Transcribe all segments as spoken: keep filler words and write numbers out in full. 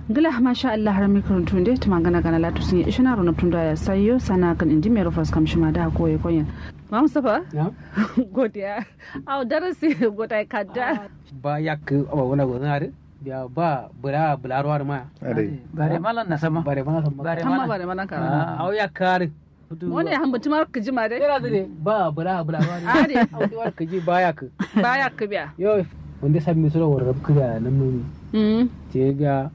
Ngla masha allah har mikron tunde tuma gana gana latu sunye ishina ro naptun da ya sayo sana kan indi mero fas kam shima da ko ye konyen. Mam safa. Godiya. Au darasi. Godai kadda. Ba yakku awa wana gozana de. Biya ba bula bula ruwa ma. Bare mala na sama bare mala sama bare mala bare mala kara. Au yakku. Wani ya hambutu mara kiji ma dai. Tera dai ba bula bula ba ne. Ade. Hambutu mara kiji ba yakku. Ba yakku biya. Yo. Wanda sabbi sura warrab kida nan nuni. Te biya.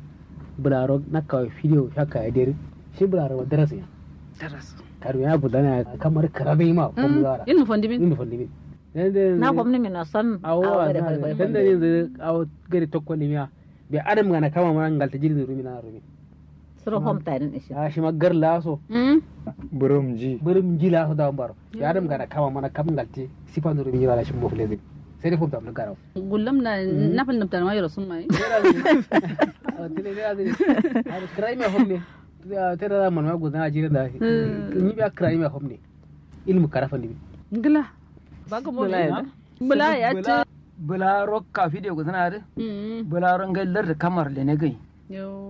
Bularo na kawai fidiyo shaka ya deri. Shi bularo daras ya. Daras. Karu ya gudana kamar karabe ma ko bularo. Ilmu fondimin. Ilmu fondimin. Na gomni min son. Awo. Tanda ne zai awo gari tokko limiya. Be adam gana kama ma ngalta jiri zai rumi na rumi. Suro fom tarin ishi. A shima gar laso. Burum ji. Burum ji laso da baro. Ya adam gana kama mana kam ngalte. Sifa nuru mi wala shimo fule zai. Sai dai fom tam gara. Gullum na nafal nabtar ma yoro summa. Tene ne azai. Krai me fom ne. Tera da man ma gudana jiri da. Ni biya krai me fom ne. Ilmu karafa ni. Ngla. Baga mo bula ya. Bula rokka fide gudana de. Bula rongai lar kamar le ne gai.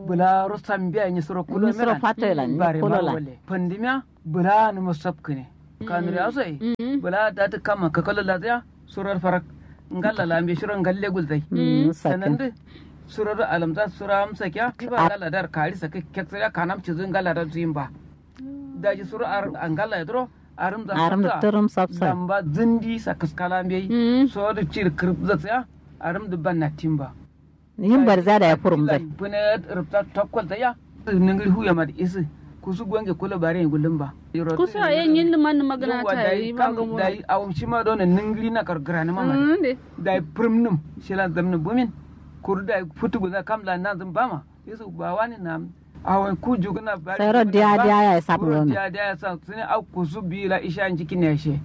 Bula ro sambiya ni suro kulo mera. Ni suro fato la ni kulo la. Pandimiya bula ni musab kine. Kanuri asoi. Bula da ta kama kakalo la ya. Surar farak. Ngalla la mbe shiro ngalle gulzai. Sanande. Surar alamza sura amsa kya kiba ngalla dar kari sake kek sira kanam cizu ngalla dar zuyin ba. Daji suru ar angala ya duro. Arum da arum da turum sapsa lamba zindi sa kaskala mbeyi. So da cir kirip zatsaya. Arum da banna timba. Yin barza da ya furum zai. Bune rubta tokkol ta ya. Ningiri huya ma da isi. Kusu gonge kula bare yin gullum ba. Kusu a yin yin liman ni magana ta yi ba gomo. Dai awum shima dona ningiri na kargara ni mama. Dai furum num shila zamni bumin. Kuru dai futu guza kam la na zin bama. Yesu ba wani nam. Awon ku juguna bari. Sai ro diya diya ya isab ngome. Diya diya ya sa sini au kusu bi la isha njiki ne she.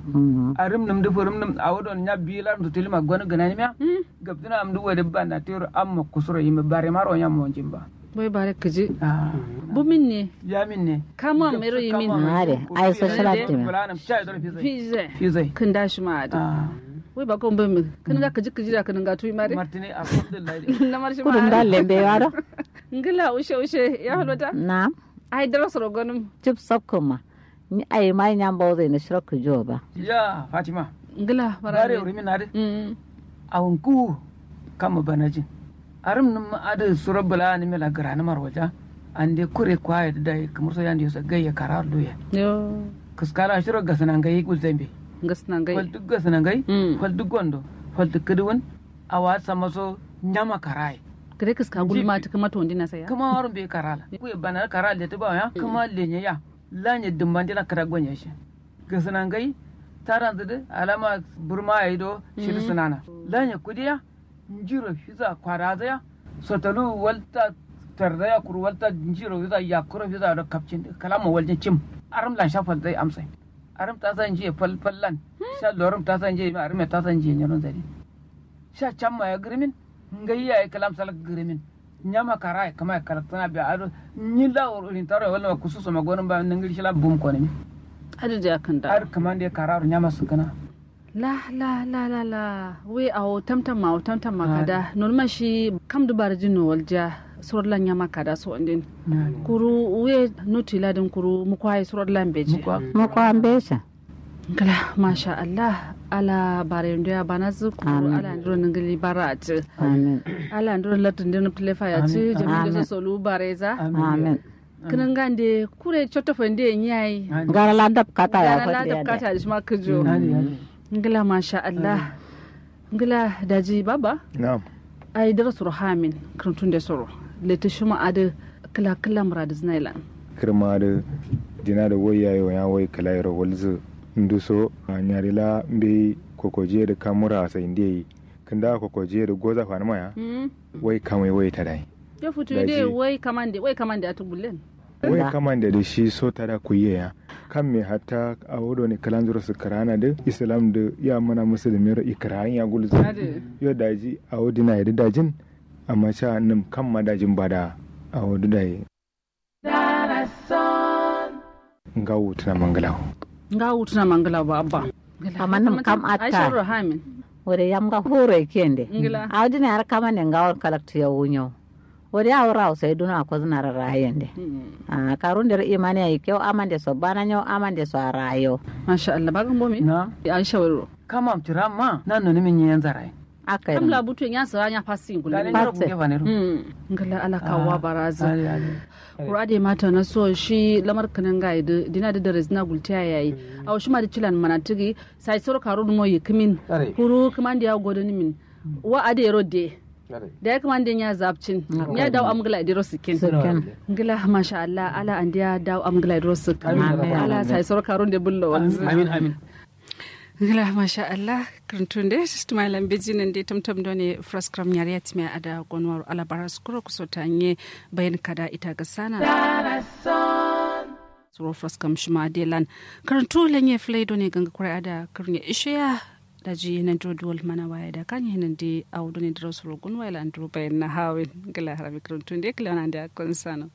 Arim num du furum num awo don nya bi la ndu tilima gonu gana ni miya. Gabduna am du wadi banda tiro amma kusuro yimi bare maro nya monjin ba. Boy bare kiji. Bumin ne. Ya min ne. Kamu am mero yimin. Are ai social active. Fizai. Fizai. Kinda shi ma ada. Wai ba kon bai mu kin ga kiji kiji da kin ga tuyi mare. Martini alhamdulillah. Na marshi ma kudun ga lembe waro. Ngila ushe ushe ya halota. Na'am. Ai dara soro gonum. Cip sokko ma. Ni ai mai nyamba ozai na shiro kujo ba. Ya fatima. Ngila bare. Bare urimi na de. Awun ku kama banajin. Arum num adu suro bula ni mela grani marwaja. Ande kure kwaye da dai kamar so yandi yosa gayya karar duya. Yo. Kaskala shiro gasana ngai gulzambe. Gasana ngai. Fal duk gasana ngai. Fal duk gondo. Fal duk kuduwun. Awa sama so nyama karai. Kare kaska gulma ta kuma tondi na saya. Kuma warun be karala. Kuye bana karal da ta ba ya kuma lenye ya. Lanye dumban dina kara gonye shi. Gasana ngai. Taran zudu alama burma ya yi do. Shiri sunana lanye kudiya. Njiro fiza kwaraza ya. Sotalu walta tarza ya kuru walta njiro fiza yakuro fiza do kapcin kalama waljin cim. Arum lan sha falzai amsai. Arum tasa njiye falfallan. Sha lorum tasa njiye ma arum tasa njiye nyaron zari. Sha chamma ya girimin. Ngai ya yi kalam salak girimin. Nyama kara ya kama ya kalak sana biya ado. Nyi la urin taro ya walma kususo ma gonin ba ningiri shila bum konimi. Adu da ya kanda. Adu kamande kara ru nyama sukana. La la la la la. We awo tamtam ma awo tamtam ma kada nolma shi kam dubar jin no walja. Suror la nyama kada so andin. Kuru we noti la din kuru mukwaye suror la mbeji. Mukwa mbeji. Kala masha allah. Ala bare ndo ya bana zu kuru ala ndiro ningili bara ati. Amin. Ala ndiro latin din plefa ya ti jami da solu bare za. Amin. Kǝnǝngande kure cotto fande ye nyi yayi. Gara la dab kata ya fande ya dab kata da shima kǝjo. Ngla masha allah. Ngla daji baba. Na'am. Ai dara suro hamin kǝrǝntun de soro. Lete shima adǝ kǝla kǝla mura dǝ zǝna ilan. Kǝrma adǝ dina dǝ wai yayi wanya wai kǝla yero walzǝ. Nduso nyari la mbeyi kokojiye dǝ kamura sai ndeyi. Kǝnda kokojiye dǝ goza fanǝma ya. Wai kamai wai tadai. Yo futu de wai kamande wai kamande atu gullen. Wai kamande dǝ shi so tada kuyiye ya. Kamme hatta awo done kǝlanzuro sǝkkǝrana dǝ islam dǝ ya mana musulmi ro ikkǝrayin ya gulzǝ. Yo daji awo dinaye dǝ dajin. Amma sha nǝm kamma dajin bada awo dǝ dayi. Ngawu tǝna mangǝlawo. Ngawu tǝna mangǝlawo ba abba. Amma nǝm kam atta. Wure yam nga furo ikkende. Awo dinaye har kamande ngawon kalaktu yawu nyawu. Wodi awo rawo sai duno akozuna ra rayen de. Ahh karun dero imani ayi keu amande so bana nyau amande so a rayo. Masha allah bagan bomi. Na'am. Aisha wuro. Kamam tiramma nan noni min nyen zarai. Akkai kam la butu nya sara nya fasi ngulu. Ngala ala kawwa barazu. Kuru ade mata na so shi lamar kinin ngai du dina du dare zina gultiya yayi. Awo shima du cilan mana tigi sai soro karun mo yikimin. Kuru kumande ya godoni min. Wa ade yero de. Da ya kumande nya zapcin. Nya dawo am ngla dero sikin. Ngla masha allah ala andiya dawo am ngla dero sikin. Ala sai soro karun de bullo wanzu. Amin amin. Ngla masha allah. Kuruntunde sistema ilan biji nande tamtam done fraskram nyariya timiya ada gonwaro ala bara sukuro kusota nye bayan kada ita ga sana. Suro fraskam shima de lan. Kuruntu lanye flai done ganga kurai ada kurunye ishiya. Daji nandiro duwal mana waya da kanye nande awo done diro suro gunwa ilan diro bayan na hawin. Ngla harami kuruntunde kila nande akon sano.